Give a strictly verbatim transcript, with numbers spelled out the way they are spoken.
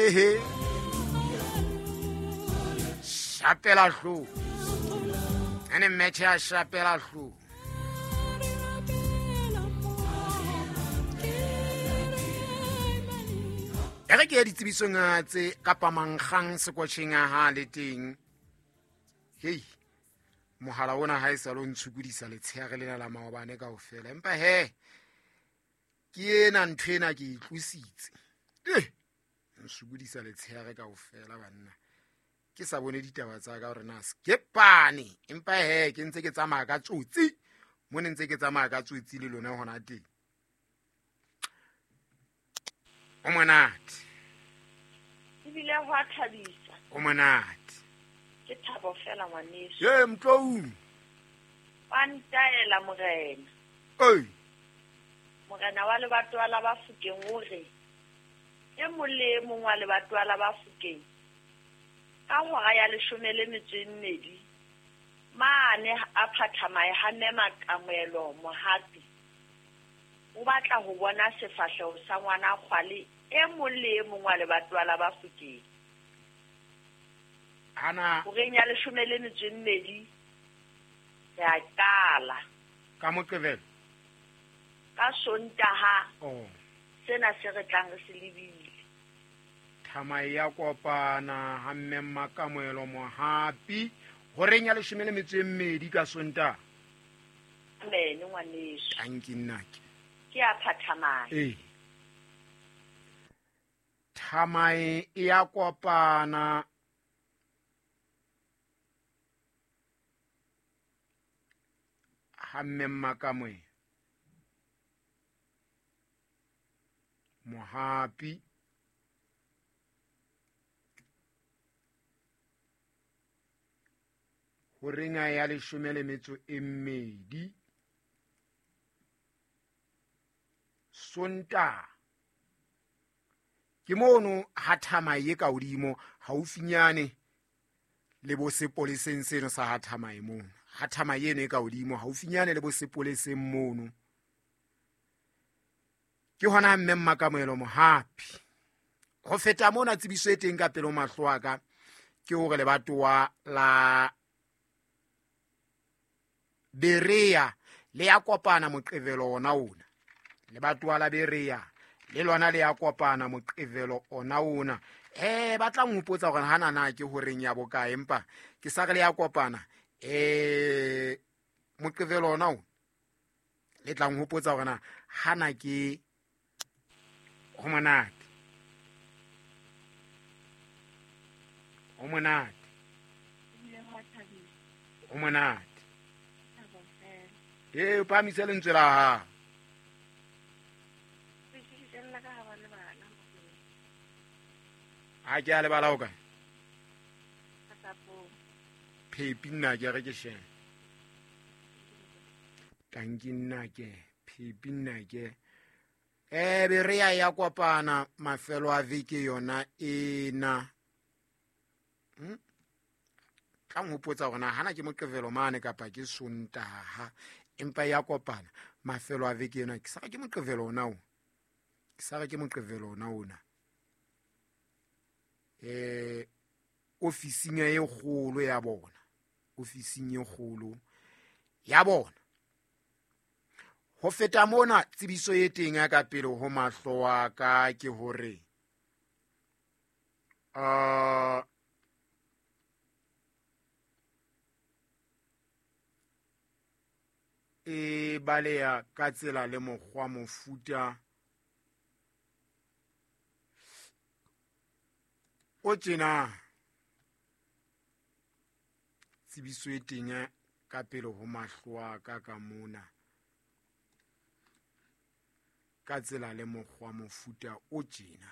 He shapela hlo ene match ya shapela hlo e re ke ya ditsebisong tse kapa mankgang sekwatjheng ha le teng. Hei mohala ona ha e sa lo ntshukudisa letsheare lena la maobane kaofela, empa he ke ena ntho ena ke e tlositse. Eh ntshukudisa letsheare kaofela banna, ke sa bone ditaba tsa ka hore na skepane, empa he ke ntse ke tsamaya ka tsotsi mo ne ntse ke tsamaya ka tsotsi le lona hona teng. O monate ebile ho a thabisa. O monate ke thabo fela ngwaneso. Ye mtloung wa ntaela morena. Oi morena wa lebatowa la Bafokeng o re e mong le e mong wa lebatowa la Bafokeng ka hora ya leshome le metso e mmedi mane a phathamae ha mme Makamoelo Mohapi o batla ho bona sefahleho sa ngwana Kgwale e mong le e mong wa lebatowa la Bafokeng. Ana horeng ya leshome le metso e mmedi re a qala ka Moqebelo ka Sontaha. Oh sena se re tlang re se lebile. Thamae ya kopana ha mme Makamoelo Mohapi horeng ya leshome le metso e mmedi ka Sontaha. Amen ngwaneso. Tanki nnake ke a phathamae. Eh thamae ya kopana ha mme Makamoelo Mohapi horeng ya leshome le metso e mmedi Sontaha. Ke mono ha thamae ka hodimo haufinyane le bo sepoleseng seno sa ha thamae mono. Ha thamae eno e ka hodimo haufinyane le bo sepoleseng mono. Ke hona mme Makamoelo Mohapi. Ho feta mona tsebiso e teng ka pele ho mahlo a ka ke hore lebatowa la Berea le ya kopana Moqebelo ona ona. Lebatowa la Berea le lona le ya kopana Moqebelo ona ona. Eh ba tla nhopotsa hore hana na ke horeng ya bokae, empa ke sa re le ya kopana eh Moqebelo ona ona. Le tla nhopotsa hore na hana ke ho monate. Ho monate. Ho monate. Eh o phahamise lentswe la hao. Ha ke a lebala o kae? Phepi nna ke re ke shebe. Tanki nna ke phepi nna ke. Eh Berea ya kopana mafelo a veke yona ena. Hm? Tla nhopotsa hore na hana ke Moqebelo mane kapa ke Sontaha, empa ya kopana mafelo a veke ena. Ke sa re ke Moqebelo ona o. Ke sa re ke Moqebelo ona ona. Eh ofising e kgolo ya bona. Ofising e kgolo ya bona. Ho feta mona tsebiso e teng ya ka pele ho mahlo a ka ke hore uh e baleya ka tsela le mokgwa mofuta o tjena. Tsebiso e teng ka pele ho mahlo a ka ka mona ka tsela le mokgwa mofuta o tjena.